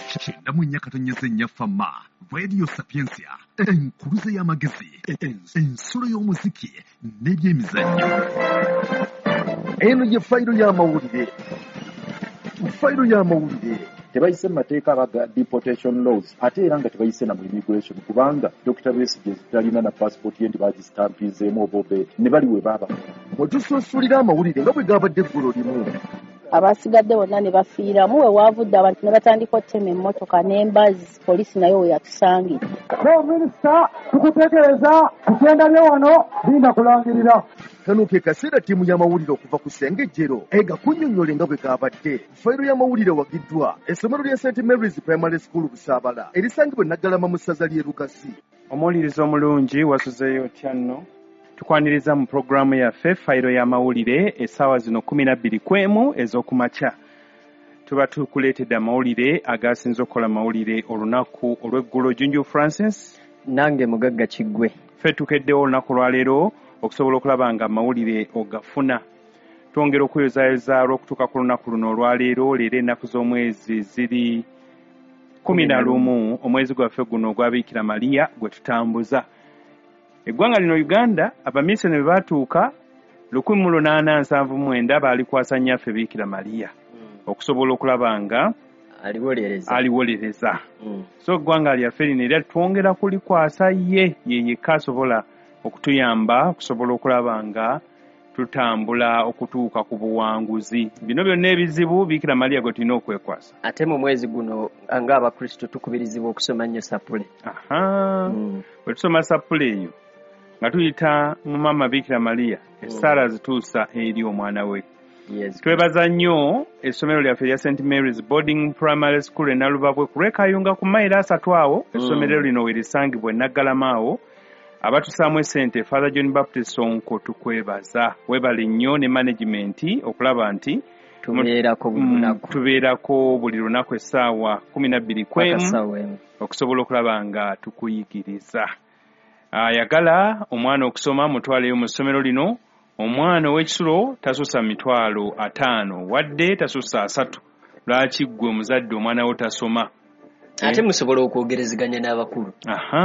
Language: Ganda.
94.4 Fama Radio Sapientia, enkuluze y'amagezi, ensulo y'omuziki n'ebyemizannyo. Eno ye fayiro y'amawulire. Fayiro y'amawulire. Tebayise mu mateeka abaga deportation laws, ate era nga tebayise na mu immigration, kubanga Dr. Besigye talina na passport ye nti bagistampizeemu oba obeeti ne bali we baaba. Mwe tusunsulira amawulire nga bwe gabadde eggulo limu. Abasigadde bonna ne bafiiramu. We waavudde abantu ne batandika okutema emmotoka n'embazzi, poliisi nayo we yatusangidde. Minisita, tukutegeeza kukyendabye wano linda kulangirira. Kano ke kaseera ttiimu y'amawulire okuva ku Ssengejjero egakunnyonnyole nga bwe gabadde. Fayiro y'amawulire wagiddwa essomero lya St Mary's Primary School Busaabala erisangibwa e Naggalama mu ssaza ly'e Lugazi. Omuwuliriza omulungi, wasuzeeyo otya nno? Tukwaniriza mu pulogulaamu yaffe Fayiro y'amawulire. Essaawa zino 12:15 ez'okumakya, tuba tukuleetedde amawulire agasinze okukola amawulire olunaku olw'eggulo. Junju Francis. Nange Mugagga Kiggwe. Ffe tukeddewo olunaku olwaleero okusobola okulaba nga amawulire ogafuna. Twongera okuyozaayoza olw'okutuuka ku lunaku luno olwaleero. Leero ennaku z'omwezi ziri 11, omwezi gwaffe guno ogwa Biikira Mariya gwe tutambuza. Eggwanga lino Uganda, abamisoni bwe baatuuka 1879, baalikwasa nnyaffe Biikira Mariya okusobola okulaba nga aliwolereza. Aliwolereza. So eggwanga lyaffe lino era twongera kulikwasa ye, ye yekka asobola okutuyamba okusobola okulaba nga tutambula okutuuka ku buwanguzi. Bino byonna ebizibu, Biikira Mariya gwe tulina okwekwasa. Ate mu mwezi guno ng'Abakristo tukubirizibwa okusoma nnyo sapule. Aha. Bwe tusoma sapule eyo nga tuyita mu maama Biikira Mariya, essaala zituusa eri omwana we. Twebaza nnyo essomero lyaffe erya St Mary's Boarding Primary School e Nalubabwe ku lw'Ekayunga, ku mayiro 30 awo. Essomero lino we lisangibwa e Naggalama awo. Abatusaamu essente, Father John Baptist Sonko, tukwebaza, weebale nnyo ne management okulaba nti tubeerako buli lunaku. Tubeerako buli lunaku essaawa 12 paka kwemu ssaawa 1 okusobola okulaba nga tukuyigiriza. Ayagala omwana okusoma, mutwaleyo mu ssomero lino. Omwana ow'ekisulo tasussa 50,000, wadde tasussa 300. Lwaki ggwe omuzadde omwana wo tasoma? Ate musobola okwogerezeganya n'abakulu. Aha.